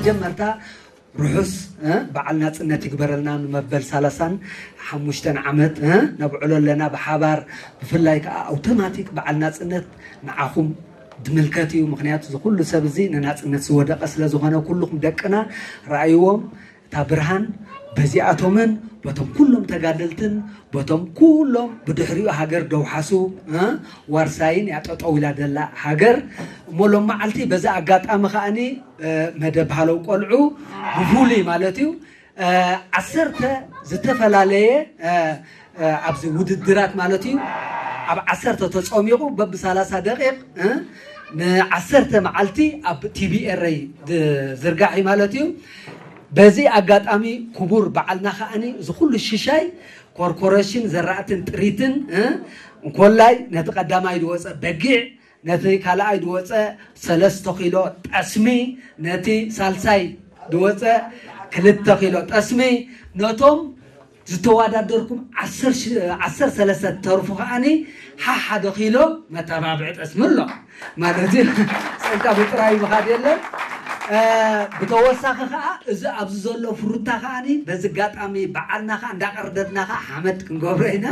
መጀመርታ ርሑስ በዓል ናፅነት ይግበረልና። ንመበል ሰላሳን ሓሙሽተን ዓመት ነብዕሎ ኣለና ብሓባር። ብፍላይ ከዓ ኣውቶማቲክ በዓል ናፅነት ንዓኹም ድምልከት እዩ። ምክንያቱ ዝኩሉ ሰብ እዚ ንናፅነት ዝወደቀ ስለዝኾነ ኩልኹም ደቅና ረኣይዎም እታ ብርሃን በዚኣቶምን በቶም ኩሎም ተጋደልትን በቶም ኩሎም ብድሕሪኡ ሃገር ደውሓሱ ዋርሳይን ያጠጠው ኢላ ደላ ሃገር እሞ ሎም መዓልቲ በዚ ኣጋጣሚ ከዓኒ መደብ ሃለው ቆልዑ ብፍሉይ ማለት እዩ ዓሰርተ ዝተፈላለየ ኣብዚ ውድድራት ማለት እዩ ኣብ ዓሰርተ ተፀሚቑ በብሰላሳ ደቂቕ ንዓሰርተ መዓልቲ ኣብ ቲቪኤረይ ዝርጋሕ እዩ ማለት እዩ። በዚ ኣጋጣሚ ክቡር በዓልና ከዓኒ እዚ ኩሉ ሽሻይ ኮርፖሬሽን ዘራእትን ጥሪትን እንኮላይ ነቲ ቀዳማይ ዝወፀ በጊዕ ነቲ ካልኣይ ዝወፀ ሰለስተ ኪሎ ጠስሚ ነቲ ሳልሳይ ዝወፀ ክልተ ኪሎ ጠስሚ ነቶም ዝተወዳደርኩም ዓሰርተ ሰለስተ ተርፉ ከዓኒ ሓሓደ ኪሎ መተባብዒ ጠስሚ ኣሎ ማለት እዩ። ፀንካ ብጥራይ ምኻድ የለን። ብተወሳኺ ከዓ እዚ ኣብዚ ዘሎ ፍሩታ ከዓኒ በዚ ኣጋጣሚ በዓልና ከዓ እንዳቀርደድና ከዓ ሓመድ ክንገብሮ ኢና።